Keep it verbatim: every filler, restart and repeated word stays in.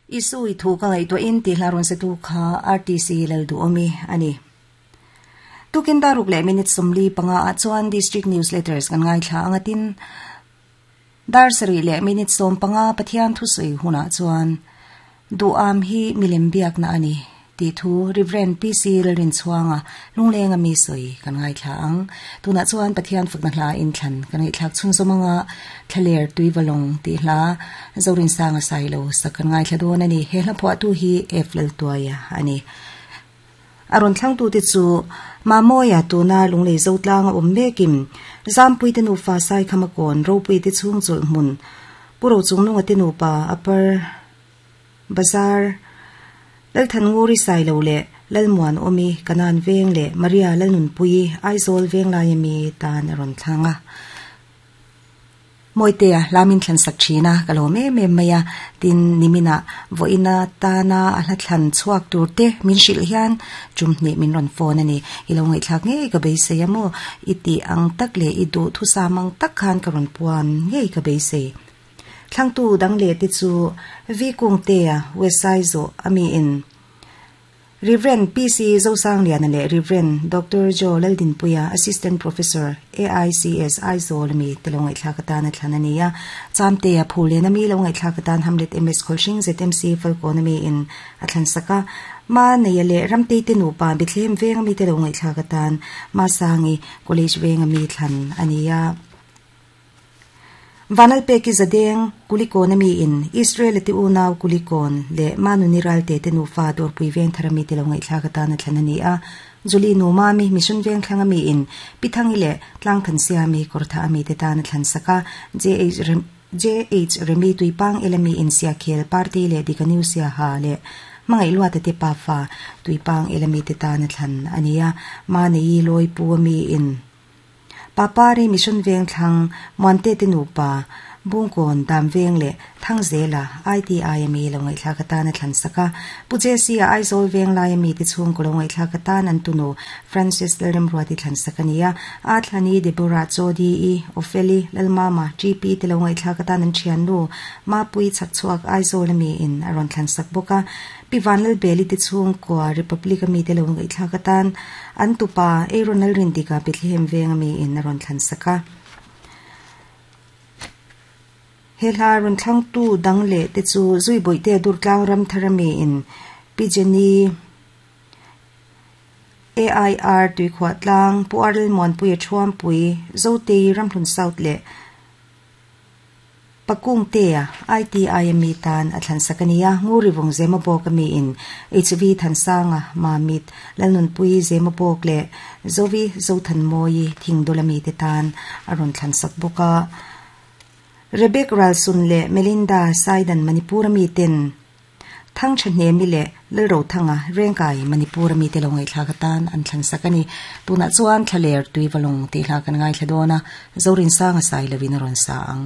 Isu i thu ka ngai to in ti hla ron se tu kha R T C lal du omi ani. Tukin daruk le minute somli panga a chuan district newsletters kan ngai thla angatin dar sari le minute som panga pathian thu sui huna chuan du am hi milem biak na ani ti thu Reverend P C Lalrin chuanga lunglenga mi soi kan ngai thla ang tuna chuan pathian fakna hla in thlan kan ngai thlak chung zomanga thlaler tuiwalong ti hla zorin sanga sailo sakan ngai thla don ani he hla phwa tu hi F lal tuaya ani aron thlang tu ti chu mamoya tuna lunglei zotlang om mekim zampui te nu fa sai khamakon ropui te chung chul mun puro chung nunga te nu pa upper bazar lal than nguri sai lo le lal muan omi kanan veng le Maria lal nun pui Aizol veng lai mi tan aron thlanga moitea lamin thlan sak thina kalome me maya tin nimina voina tana a hla thlan chuak tur te min hril hian chumni min ron phone ani ilo ngai thlak nge ka beisei amo iti ang tak le i du thu samang tak khan ka ron puan nge ka beisei thlangtu dang le ti chu vi kung te a wesai zo ami in Reverend P C Zosang Lian le Reverend Doctor Joe Laldin Puya Assistant Professor A I C S Aizol mi telongai thlakata na thlanania chamte a phule na mi longai thlakatan Hamlet M S Kholshing Z M C Falcon mi in athlan saka ma neyale ramte te nu pa Bethlehem veng mi telongai thlakatan ma sangi college veng mi thlan ania Vanal peki zadeng kulikon ami in Israel ti unaw kulikon le manuniral te te nufa dor pui veng tharami te longai thlakata na thlanani a juli nu mami mission veng thlangami in pithangi le tlang than siami kortha ami te ta na thlan saka J H J H Remi tuipang elami in sia khel party le dikaniu sia ha le mangai lua te te pa fa tuipang elami te ta na thlan ania ma nei loi pu ami in Papari mission veng thlang muante te nupa bungkon dam veng le thangzela I T I M E longai thlakata na thlan saka puje si Aizol veng lai mi ti chung ko longai thlakata nan tuno Francis Lerem ruati thlan sakania a thlani Deborah Chodi e Opheli Lalmama G P te longai thlakata nan thian nu ma pui chak chuak Aizol mi in aron thlan sak boka pivanal beli ti chung ko Republic mi te longai thlakatan an tupa Aaron Rindika Bethlehem veng mi in aron thlan saka hela ron thlang tu dang le te chu zui boi te dur tlang ram tharami in pijeni A I R tui khwa tlang puarl mon pui thuam pui zote ramhlun south le pakung te I T I M tan athlan sakania nguri wong zema bok mi in H V thansanga mamit lalnun pui zema bok le zovi zothan moi thingdolami te tan aron thlan sak boka Rebecca Ralsun le Melinda Saidan Manipur mi ten thang thane mi le lero thanga rengkai Manipur mi te longai thlakatan an thlan sakani tuna chuan thlaler tuiwalong ti hla kan ngai thladona zorin sanga sai lawin ron sa ang.